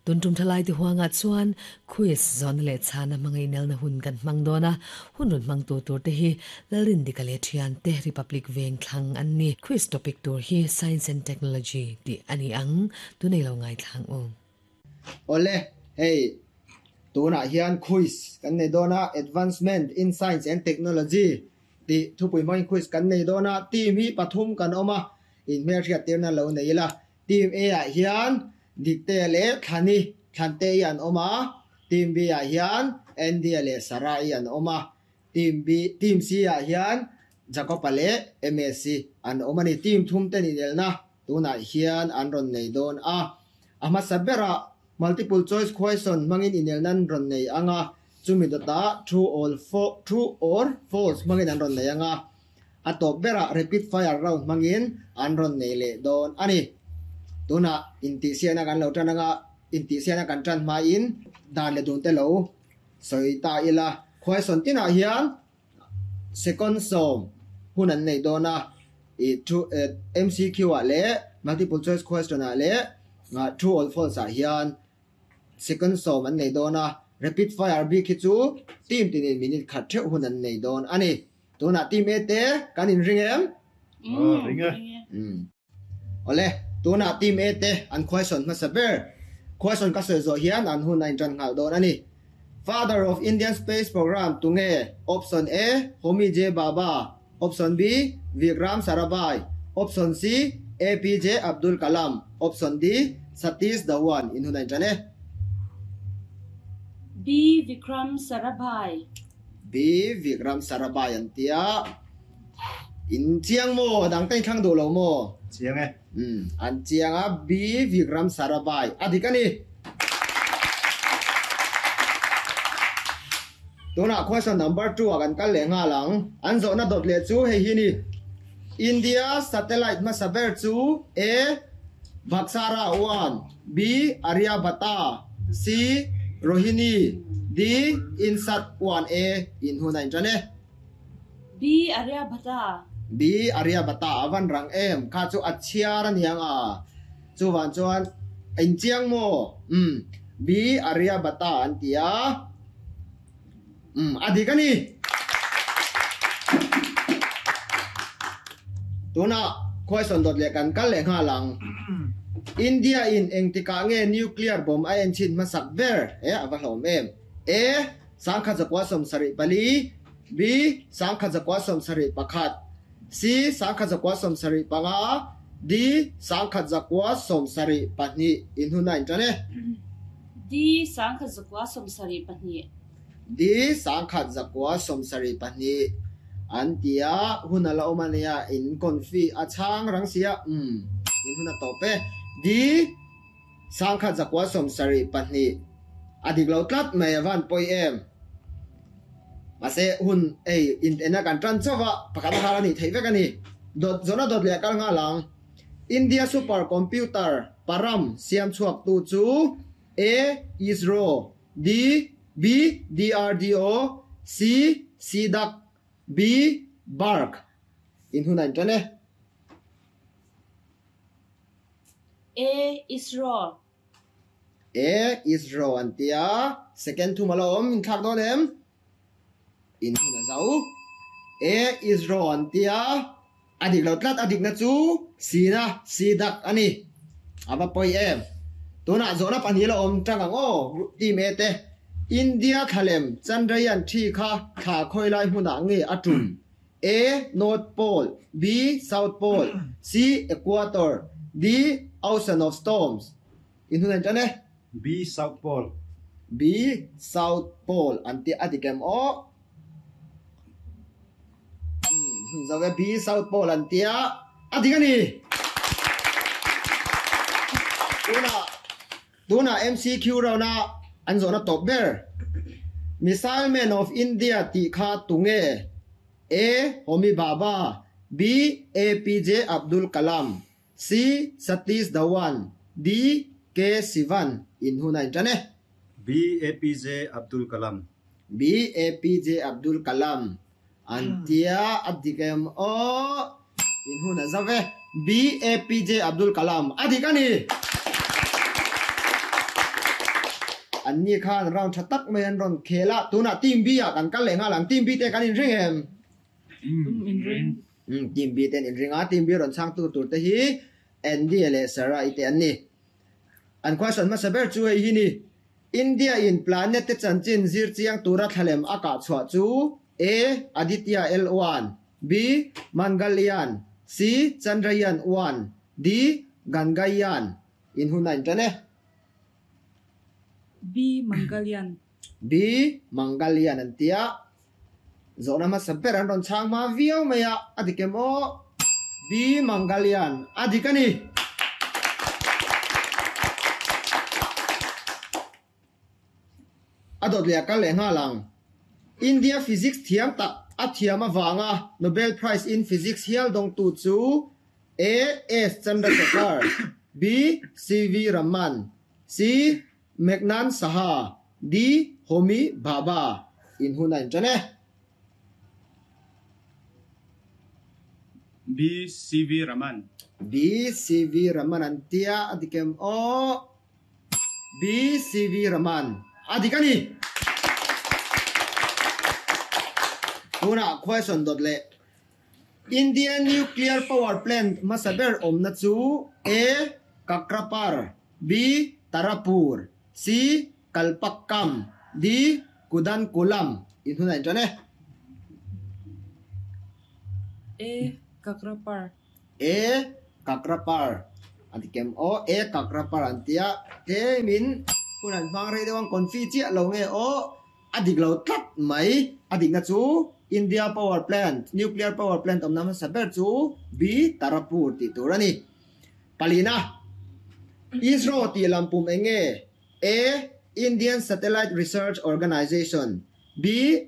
Tun tum thalai te huangah chuan quiz zawhna leh chhana hmangaih nelna hun kan hmang dawn a, hun rawn hmang tur tur te hi Lalrindika leh thiante Republic veng thlang an ni. Quiz topic tur hi Science and Technology tih a ni ang, tunei lo ngaithlang u. Awle, hei tunah hian quiz kan nei dawn a, Advancement in Science and Technology tih thupui hmangin quiz kan nei dawn a, team hi pathum kan awm a, inhmelhriat tirna lo nei ila. Team A ah hian Diktea leh Thlani, Thlantei an awm a, Team B ah hian Andy-a leh Sarah-i an awm a, Team B, Team C ah hian Jacob-a leh MS-i an awm a ni. Team thum ten inelna tunah hian an rawn nei dawn a. A hmasa berah multiple choice question hmangin inelna an rawn nei ang a, chumi dawtah true or true or false hmangin an rawn nei ang a. A tawp berah rapid fire round hmangin an rawn nei leh dawn a ni. Tunah intihsiahna kan lo tan anga intihsiahna kan tan hmain dan leh dun te lo sawi ta ila. Khuaisawn tinah hian second sawm hun an nei dawn a, ih thu MCQ ah leh multiple choice question ah leh true or false ah hian Second sawm an nei dawn a, rapid fire bik hi chu team tinin minute khat theuh hun an nei dawn a ni. Tunah team A te kan inring em? Ring e. Awle, tunah team A te an khuaisawn hmasa ber. Khuaisawn ka sawi zawh hian an hun a intan nghal dawn a ni. Father of Indian Space Programme tunge? Option A, Homi J Bhabha, Option B, Vikram Sarabhai, Option C, APJ Abdul Kalam, Option D, Satish Dhawan in hun a intan e. B, Vikram Sarabhai. B, Vikram Sarabhai an ti a. In chiang maw? A dang te in thlang duh lo maw? Chiang e. Umm, an chiang a, B, Vikram Sarabhai a dik a ni. Tunah question number 2 ah kan kal leh nghal ang. An zawhna dawt leh chu hei hi ni. India satellite hmasa ber chu A. Bhaksara 1, B. Aryabhata, C. Rohini, D. Insat 1 A in hun a intan e. B. Aryabhata. B. Aryabhata a van rang em? Kha chu a chhiar a niang a. Chuvang chuan inchiang maw? Umm. B. Aryabhata an ti a. Umm, a dik a ni. Tunah question dawt leh kan kal leh nghal ang. India in engtikah nge nuclear bomb a enchhin hmasak ber? E, a va hlawm em. A. 1974, B. 1971, C. 1975, D. 1972 in hun a intan e. D. 1972. D. 1972 an ti a, hun a la awm a nia, in confi a chhang rang si a, umm, in hun a tawp e. D. 1972 a dik lo tlat mai a van pawi em. Mahse hun hei in ena kan tan chauh a, pakhat a nghal a nih theih vek a ni. Dawt zawhna dawt leh a kal nghal ang. India super computer param siam chhuak tu chu A. ISRO D. B. DRDO C. CDAC B. BARC In hun a intan e. A ISRO. A ISRO an ti a, second thum a la awm, in thlak dawn em? In hun a zo. A ISRO an ti a, a dik lo tlat, a dikna chu sina, si dak a ni. A va pawi em? Tunah zawhna pahnih la awm tang ang aw, team A te. India thlalem Chandrayaan thi kha thla khawi lai hmunah nge a tum? A. North Pole B. South Pole C. Equator D. Ocean of Storms In hun an tan e. B. South Pole B. South Pole an tih a dik em aw? Hun zo e. B. South Pole an tia a dik a ni. Tunah Tunah MCQ round a an zawhna tawp ber. Missile Man of India tih kha tunge? A. Homi Bhabha B. APJ Abdul Kalam C. Satish Dhawan D. K. Sivan In hun a intan e. B. APJ Abdul Kalam B. APJ Abdul Kalam An tia a dik em aw? In hun a zau e. B. APJ Abdul Kalam a dik a ni! An ni khan round tha tak mai an rawn khel a, tunah team B ah kan kal leh nghal ang. Team B te kan inring em? Um, inring. Um, team B te an inring a, team B rawn chhangtu tur te hi Andy leh Sarah i te an ni. An question hmasa ber chu hei hi ni, India in planet te chanchin zir chiang tura thlalem a kah chhuah chu A. Aditya L1, B. Mangalyaan, C. Chandrayaan 1, D. Gangayaan. In hun a intan e. B. Mangalyaan. B. Mangalyaan an ti a, zawhna hmasa ber an rawn chhang hma viau mai a, a dik em aw? B. Mangalyaan a dik a ni. A dawt leh a kal leh nghal ang. India physics thiam tak a thiam avanga Nobel Prize in Physics hial dawngtu chu A. S. Chandrasekhar, B. C. V. Raman, C. Meghnad Saha, D. Homi Bhabha in hun a inṭan e. B. C. V. Raman. B. C. V. Raman an tia a dik em aw? B. C. V. Raman a dik a ni. Tunah question dawt leh. India Nuclear Power Plant hmasa ber awmna chu A. Kakrapar, B. Tarapur, C. Kalpakkam, D. Kudankulam in hun a inṭan e. A. Kakrapar. A. Kakrapar an ti kem aw. A. Kakrapar an ti a, tlemin hun an hmang rei deuh ang confi chiah lo nge aw. A dik lo tlat mai. A dikna chu India Power Plant, Nuclear Power Plant awmna hmasa ber chu B. Tarapur tih tur a ni. Palina, ISRO tih lam pum eng nge? A. Indian Satellite Research Organisation B.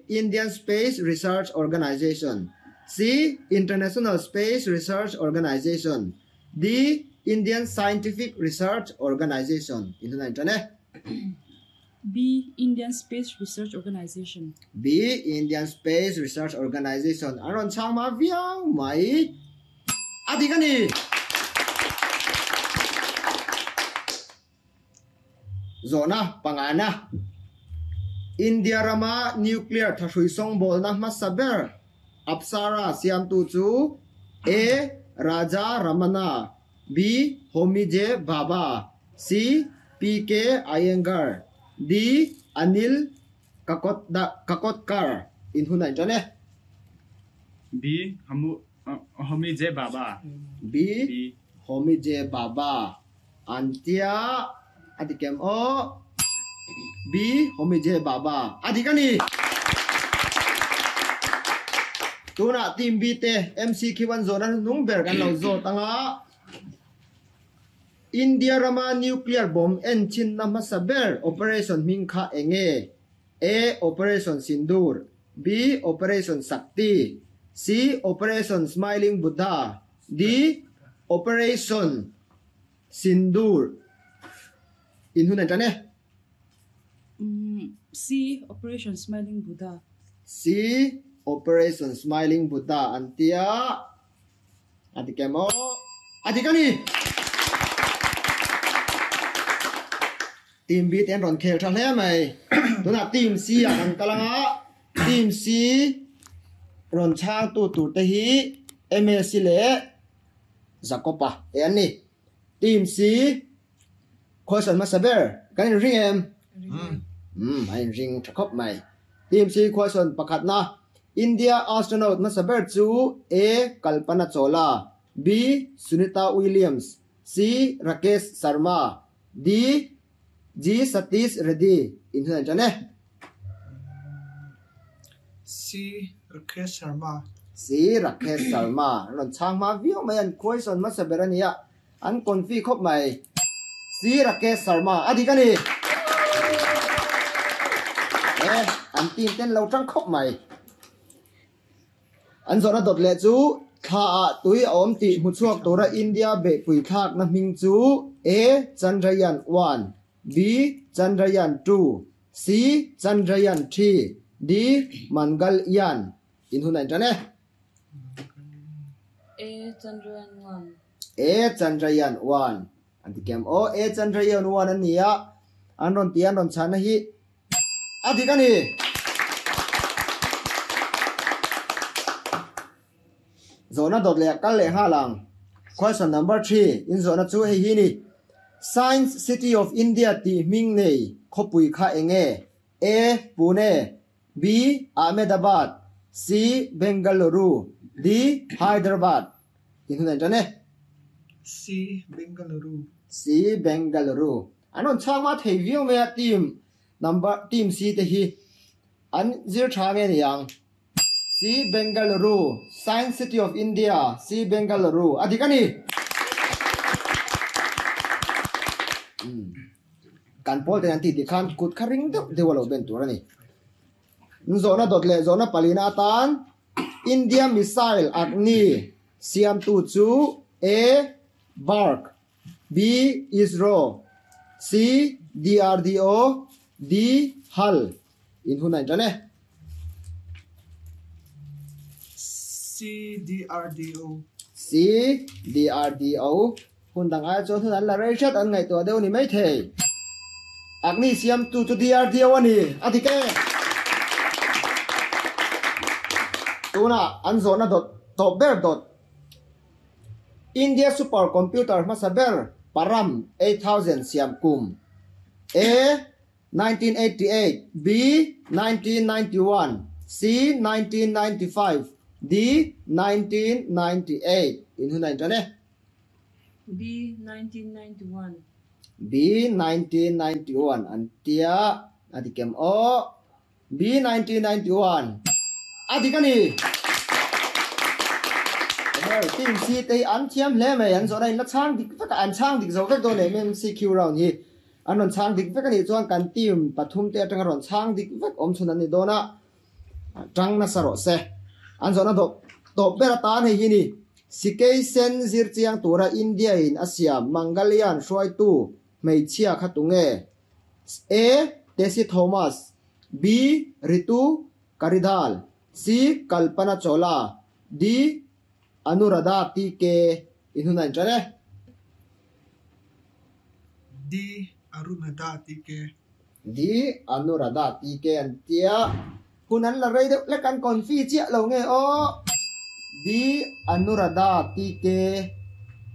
Indian Space Research Organisation C. International Space Research Organisation D. Indian Scientific Research Organisation In hunah inṭan e. B. Indian Space Research Organisation. B. Indian Space Research Organisation an rawn chhang hma viau mai. A dik a ni! Zawhna pangana, India rama nuclear thahrui sawngbawlna hmasa ber Apsara siamtu chu A. Raja Ramanna, B. Homi J. Bhabha, C. P. K. Iyengar, D. Anil Kakodkar in hun a inṭan e. B. Homi J. Bhabha. B. Homi J. Bhabha an tia a dik em aw? B. Homi J. Bhabha a dik a ni. Tunah team B te MC khi an zawh na hnung ber kan lo zawt anga India rama nuclear bomb en chhinna hmasa ber operation hming kha eng nge? A. Operation Sindoor B. Operation Shakti C. Operation Smiling Buddha D. Operation Sindoor In hun an tan e. C. Operation Smiling Buddha. C. Operation Smiling Buddha an tia. A dik em aw? A dik a ni! Team B te an rawn khel tha hle mai. Tunah Team C ah kan kal ang a, Team C rawn chhangtu tur te hi MSc leh Jacob-a te an ni. Team C Question hmasa ber, kan inring em? Umm, a inring tha khawp mai. Team C question pakhatna, India astronaut hmasa ber chu A. Kalpana Chawla, B. Sunita Williams, C. Rakesh Sharma, D. G. Satish Reddy in hun an ṭan e. C. Rakesh Sharma. C. Rakesh Sharma an rawn chhang hma viau mai, an question hmasa ber a ni a. An confi khawp mai. Sir Rakesh Sharma a dik a ni. E, an team ten lo tang khawp mai. An zawhna dawt leh chu thla ah tui a awm tih hmuchhuak tura India beihpui thlakna hming chu A. Chandrayaan 1, B. Chandrayaan 2, C. Chandrayaan 3, D. Mangalyaan. In hun a intan e. A. Chandrayaan 1. A Chandrayaan 1 an ti kem aw. A Chandrayaan 1 a ni a. An rawn ti a, an rawn chhahna hi a dik a ni. Zawhna dawt leh kal leh nghal ang. Question number 3, in zawhna chu hei hi ni. Science City of India tih hming nei khawpui kha eng nge? A. Pune B. Ahmedabad C. Bengaluru D. Hyderabad In hun a inṭan e. C. Bengaluru C. Bengaluru An rawn chhang hma thei viau mai a, team number team C te hi an zir tha nge ni ang? C. Bengaluru Science City of India C. Bengaluru A dik a ni! Kan pawl ten an tih tih khan kut kha ring deuh deuh a lo ben tur a ni. Zawhna dawt leh zawhna palina atan India missile Agni siamtu chu A. Bark B. ISRO C. DRDO D. HAL In hun a inṭan e. C. DRDO C. DRDO Hun dang ai chuan hun an la rei hret an ngaihtuah deuh ni maithei. Agni siamtu chu DRDO a ni, a dik e. Tunah an zawhna dawt tawp ber dawt. India super computer hmasa ber Param 8000 siam kum A. 1988, B. 1991, C. 1995, D. 1998 In hun a inṭan e. B. 1991. B. 1991 an tia a dik em aw? B. 1991 a dik a ni. Hei team C te hi an thiam hle mai, an zawhna in la chhang dik vek a, an chhang dik zo vek dawn em MCQ round hi an rawn chhang dik vek a nih chuan kan team pathum te atanga rawn chhang dik vek awm chhun an ni dawn a, tang nasa rawh se. An zawhna dawp tawp ber atan hei hi ni. Sikei sen zir chiang tura India in a siam Mangalian hruaitu hmeichhia kha tunge? A. Tessy Thomas B. Ritu Karidhal C. Kalpana Chawla D. Anuradha TK In hun a inṭan e. D. Aruradha TK D. Anuradha TK an tia. Hun an la rei deuh hlek an confi chiah lo nge aw. D. Anuradha TK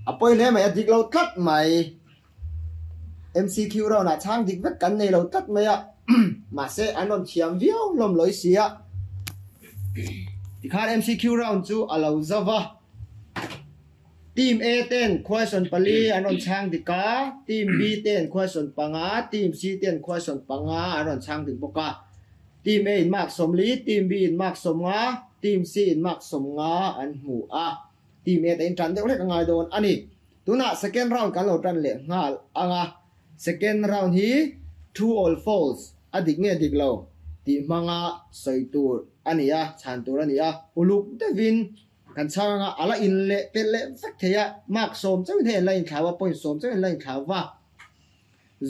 A pawi hle mai, a dik lo tlat mai. MCQ round ah chhang dik vek kan nei lo tlat mai a, mahse an rawn thiam viau hlawm lawi si a. Tikhan MCQ round chu a lo zo va. Team A ten question pali an rawn chhang dik a, Team B ten question panga, Team C ten question panga an rawn chhang dik bawk a. Team A in mark sawmli, Team B in mark sawmnga, Team C in mark sawmnga an hmu a. Team A te in tan deuh hlek a ngai dawn a ni. Tunah second round kan lo tan leh nghal ang a, second round hi true or false a dik nge dik lo tih hmanga sawi tur a ni a, chhan tur a ni a, uluk deuhin kan chhang ang a, a la in leh pelh leh vek thei a, mark sawm chauhin hei an la inthlau a, point sawm chauhin an la inthlau va,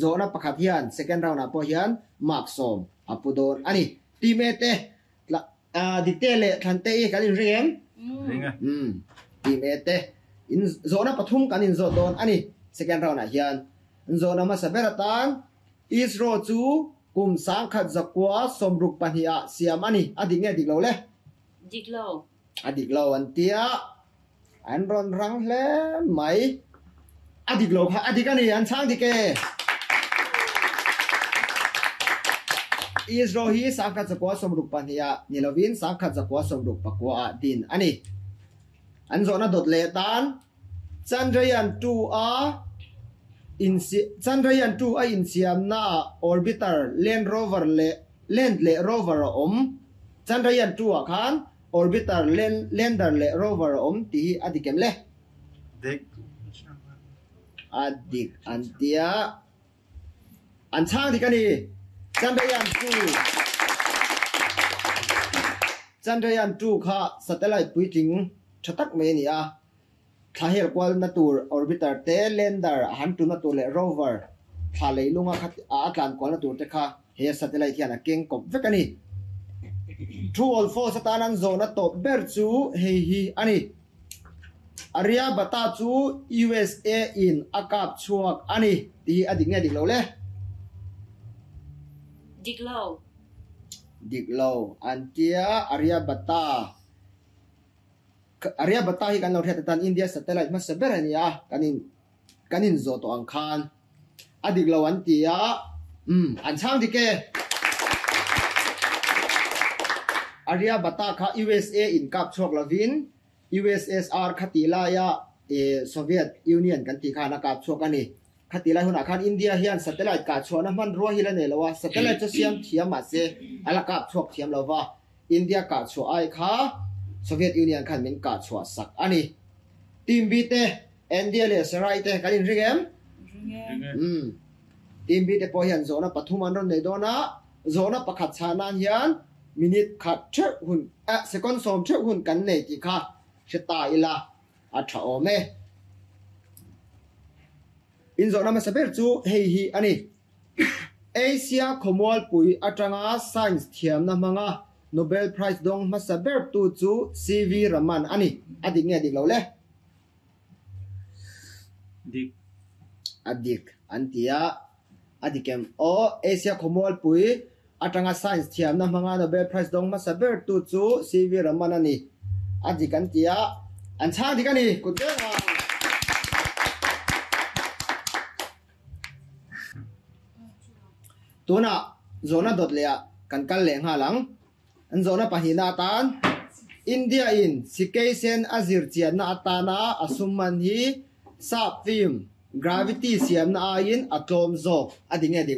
zawhna pakhat hian second round ah pawh hian mark sawm a pu dawn a ni. Team A te Dikte leh Thlante i kan inring em? Ring e. Umm, team A te in zawhna pathum kan inzawt dawn a ni. Second round ah hian zawhna hmasa ber atan ISRO chu kum sangkhat zakua sawmruk pahnih ah siam a ni. A dik nge dik lo le? Dik lo. A dik lo an tia, an rawn rang hle mai. A dik lo kha a dik a ni, an chhang dik e. ISRO hi sangkhat zakua 62 ah ni lovin sangkhat zakua 69 ah din a ni. An zawhna dawt leh tan Chandrayaan 2 a Chandrayaan 2 a insiamna ah orbiter, land rover leh land leh rover a awm. Chandrayaan 2 ah khan orbiter, lander leh rover a awm tih hi a dik em le? Dik. A dik an tia. An chhang dik a ni. Chandrayaan 2 Chandrayaan 2 kha satellite puitling tha tak mai a ni a. Thla hel kualna tur orbiter te, lander a han tuna tur leh rover thla leilunga kha a tlan kualna tur te kha he satellite hian a keng kawp vek a ni. True or false atan an zawhna tawp ber chu hei hi a ni. Aryabhata chu USA in a kap chhuak a ni tih hi a dik nge dik lo le? Dik lo. Dik lo an tia Aryabhata Aryabhata hi kan lo hriat atan India satellite hmasa ber a ni a, kan in kan in zawh tawh ang khan a dik lo an ti a, umm an chhang dik e. Aryabhata kha USA in kap chhuak lovin USSR kha tih laia Soviet Union kan tih khan a kap chhuak a ni. Khati lai hunah khan India hian satellite kah chhuahna hmanrua hi la nei lo a, satellite chu siam thiam mahse a la kap chhuak thiam lo va, India kah chhuah ai kha Soviet Union khan min kah chhuah sak a ni. Team B te, India leh Sarai te kan inring em? Ring e. Umm. Team B te pawh hian zawhna pathum an rawn nei dawn a, zawhna pakhat chhah nan hian minute khat theuh hun, eh second sawm theuh hun kan nei tih kha hre ta ila. A tha awm e. Inzawhna hmasa ber chu hei hi a ni. Asia khawmualpui atanga science thiamna hmanga Nobel Prize dawng hmasa ber tu chu CV Raman a ni. A dik nge dik lo le? Dik. A dik an ti a. A dik em? Aw, Asia khawmualpui atanga science thiamna hmanga Nobel Prize dawng hmasa ber tu chu CV Raman a ni. A dik an ti a, an chhang dik a ni, kut veng ang. Tunah zawhna dawt leh ah kan kal leh nghal ang. An zawhna pahnihna atan India in sikei sen a zir chianna atana a sum man hi sap film Gravity siamna aiin a tlawm zawk a ti nge dik lo.